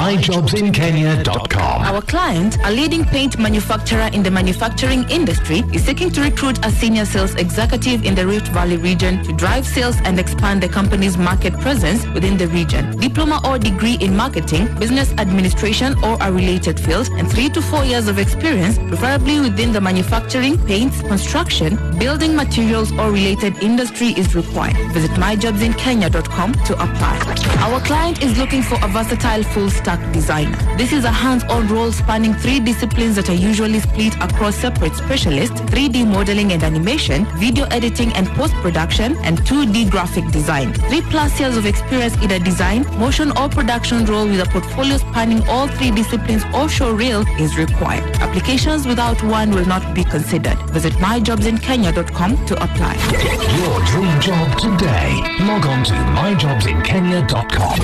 myjobsinkenya.com. Our client, a leading paint manufacturer in the manufacturing industry, is seeking to recruit a senior sales executive in the Rift Valley region to drive sales and expand the company's market presence within the region. Diploma or degree in marketing, business administration, or a related field, and 3 to 4 years of experience, preferably within the manufacturing, paints, construction, building materials, or related industry is required. Visit myjobsinkenya.com to apply. Our client is looking for a versatile full stack designer. This is a hands-on role spanning three disciplines that are usually split across separate specialists: 3D modeling and animation, video editing and post-production, and 2D graphic design. 3+ years of experience in a design, motion or production role with a portfolio spanning all three disciplines or show reel is required. Applications without one will not be considered. Visit myjobsinkenya.com to apply. Get your dream job today. Log on to myjobsinkenya.com.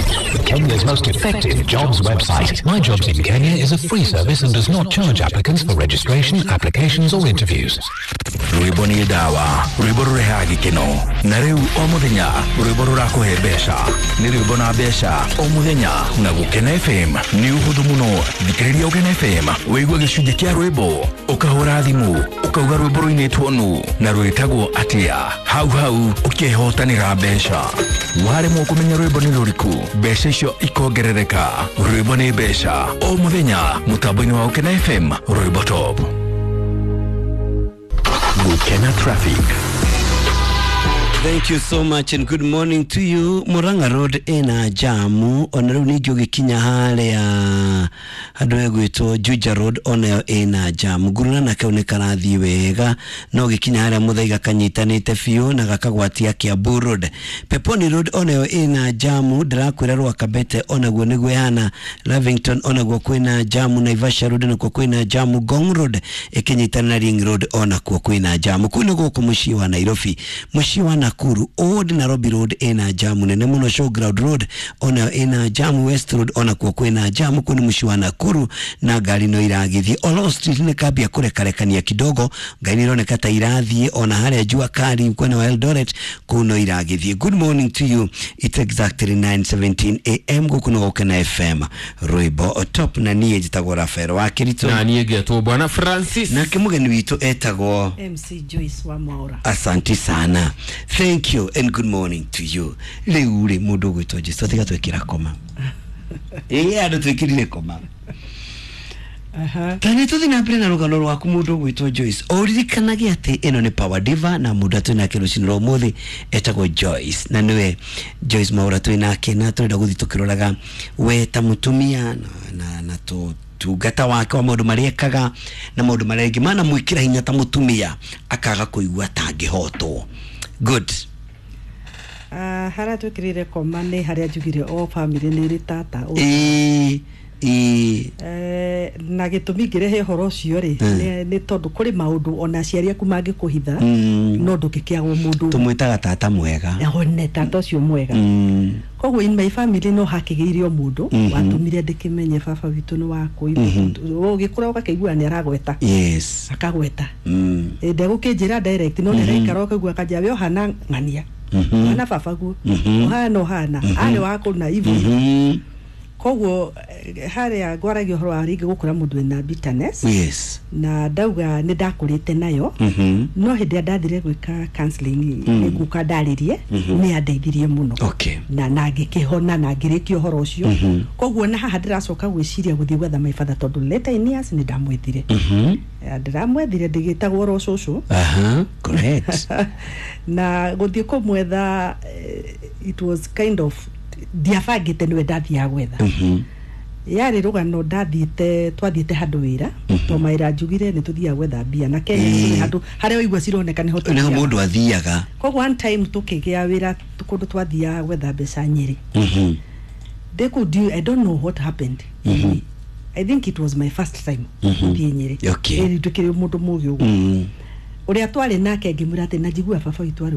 Kenya's most effective jobs website. My Jobs in Kenya is a free service and does not charge applicants for registration, applications, or interviews. Rwĩmbo nĩ ndawa, rwĩmbo rũrehaga gĩkeno, na rĩu o mũthenya rwĩmbo rũrakũhe mbeca. Nĩ rwĩmbo na mbeca o mũthenya na Gũkena FM. Nĩ ũhũthũ mũno, thikĩrĩria Gũkena FM, wĩigue gĩcunjĩ kĩa rwĩmbo, ũkahũra thimũ ũkauga rwĩmbo rũinĩtwo nũ na rwĩtagwo atĩa, hau hau ũkehotanĩra mbeca. Waremwo kũmenya rwĩmbo nĩ rũrĩkũ, mbeca icio ikongerereka. Rwĩmbo nĩ mbeca o mũthenya mũtambo-inĩ wa Gũkena FM, rwĩmbo top. Gũkena Traffic. Thank you so much and good morning to you. Murang'a Road ina jamu ona rĩu ningĩ ũgĩkinya harĩa handũ hegwĩtwo Juja Road onayo ĩna jamu. Nguruna nakĩo nĩ karathiĩ wega no ũgĩkinya harĩa Muthaiga kanyitanĩte biũ na gakagwatia Kiambu Road. Peponi Road onayo ĩna jamu, ndĩrakwĩra Rwakabete onaguo nĩguo ĩhana. Lavington onaguo kwĩna jamu, Naivasha Road nakuo kwĩna jamu, Ngong Road ĩkĩnyitana na Ring Road onakuo kwĩna jamu. Kũu nĩ gũkũ mũciĩ wa Nairobi. Mũciĩ wa Nakuru, Old Nairobi Road ĩna jamu nene mũno, Showground Road onayo ĩna jamu, West Road onakuo kwĩna jamu. Kũu nĩ mũciĩ wa Nakuru na ngari no iragĩthiĩ. Oloo Street nĩ kambia kũrekarekania kidogo, ngari nĩ ironeka ta irathiĩ ona harĩa Jua Kali mwena wa Eldoret kũu no iragĩthiĩ. Good morning to you. It's exactly 9:17 a.m. Gũkũ nĩ Gũkena FM, rwĩmbo top, na niĩ njĩtagwo Rafael wa Kĩritũ. Na niĩ ngetwo Bwana Francis. Nake mũgeni witũ etagwo MC Joyce wa Mwaura. Asanti sana, thank you and good morning to you. Rĩu rĩ, mũndũ ũgwĩtwo Jesu, tiga twĩkĩra koma ĩĩ, andũ twĩkĩrire koma. Ta nĩ tũthiĩ na mbere na rũgano rwaku, mũndũ ũgwĩtwo Joyce. Ũririkanage atĩ ĩno nĩ Power Diva na mũndũ atwĩ nake rũcinĩ rwa ũmũthĩ etagwo Joyce, na nĩwe Joyce Mwaura twĩ nake, na tũrenda gũthiĩ tũkĩroraga we ta mũtumia na tungata wake wa maũndũ marĩa ekaga na maũndũ marĩa angĩ mana mwĩkĩra hinya ta mũtumia akaga kũigua tangĩhotwo. Good. Harĩa twĩkĩrĩire koma nĩ harĩa njugire o family nĩ ĩrĩ tata. Ĩĩ. Na gĩtũmi ngĩrehe ũhoro ũcio rĩ, nĩ tondũ kũrĩ maũndũ ona aciari aku mangĩkũhitha, no ndũngĩkĩagwo mũndũ. Tũmwĩtaga tata mwega. One tata ũcio mwega. Koguo in my family no hakĩgĩire o mũndũ watũmire ndĩkĩmenye baba witũ nĩ wakũ. Ũgĩkũra ũgakĩigua nĩ aragweta, akagweta. Ndegũkĩnjĩra direct, no nĩaraikara ũkaigua akanjĩra, "We ũhana ng'ania, ũhana baba guo, ũhana ũhana arĩ wakũ na ivo." Koguo harĩa ngwaragia ũhoro wa rĩngĩ gũkũra mũndũ wĩna bitterness, na ndauga nĩ ndakũrĩte nayo, no hĩndĩ ĩrĩa ndathire gwĩka counseling, nĩ nguka ndarĩrie, nĩ yandeithirie mũno na ngĩkĩhona na ngĩrĩkia ũhoro ũcio. Koguo na haha ndĩracoka gwĩciria gũthiĩ gwetha my father, tondũ later in years nĩ ndamwethire. Ndĩramwethire ndĩgĩtagwo oro cũcũ. Aha, correct. Na gũthiĩ kũmwetha, it was kind of ndiabangĩte nĩwe ndathiaga gwetha. Yarĩ rũgano ndathiĩte, twathiĩte handũ wĩra, to mawĩra njugire nĩ tũthiaga gwetha mbia na Kenya nĩ handũ harĩa waigua cironeka nĩho nĩho tũthiaga. Mũndũ athiaga. Koguo one time tũkĩgĩa wĩra kũndũ twathiaga gwetha mbeca Nyĩrĩ. Ndĩ kũu I don't know what happened. I think it was my first time gũthiĩ Nyĩrĩ. Ĩrĩ ndũkĩrĩ mũndũ mũgĩ ũguo. Ũrĩa twarĩ nake ngĩmwĩra atĩ na njigua baba witũ arĩ